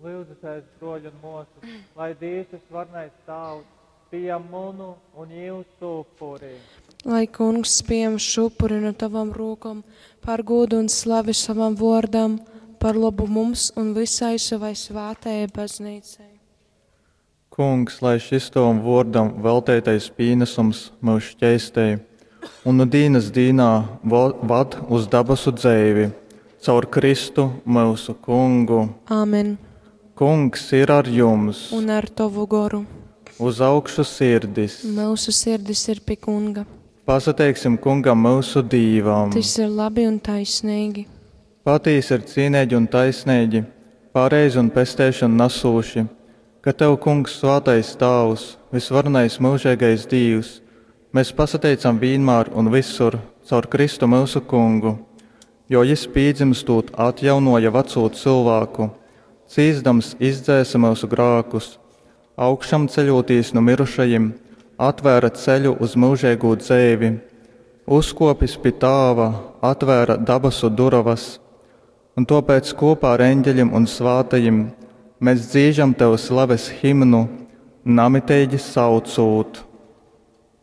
Lyudzitēs, bruoļi un muosys, lai Dīvs vysvarenais Tāvs pījam munu un jūsu upuri. Lai kungs pieņem šo upuri no tavam rūkom par gūdu un slavi savam vārdam, par labu mums un visai savai svētajai baznīcai. Kungs, lai šis tovam vōrdam velteitais pīnasums myus škeistej un nu dīnas dīnā vad uz dabasu dzeivi caur Kristu myusu Kungu. Āmen. Kungs ir ar jums! Un ar tovu goru. Uz augšu sirdis! Myusu sirdis ir pi kunga. Pasateiksim Kungam myusu Dīvam! Tys ir labi un taisneigi. Patīsi ir cīneigi un taisneigi, pareizi un pesteišonu nasūši, ka tev, Kungs, svātais Tāvs, vysvarenais myužeigais Dīvs, mēs pasateicam vīnmār un vysur caur Kristu myusu Kungu, jo jys pīdzymstūt atjaunōja vacū cylvāku, cīsdams izdzēse myusu grākus, augšamceļūtīs nu myrušajim, atvēra ceļu uz myužeigū dzeivi, uzkōpis pi Tāva, atvēra dabasu durovas. Un tōpēc kopā ar eņģeļim un svātajim mēs dzīžam tev slaves himnu, namiteigi saucūt.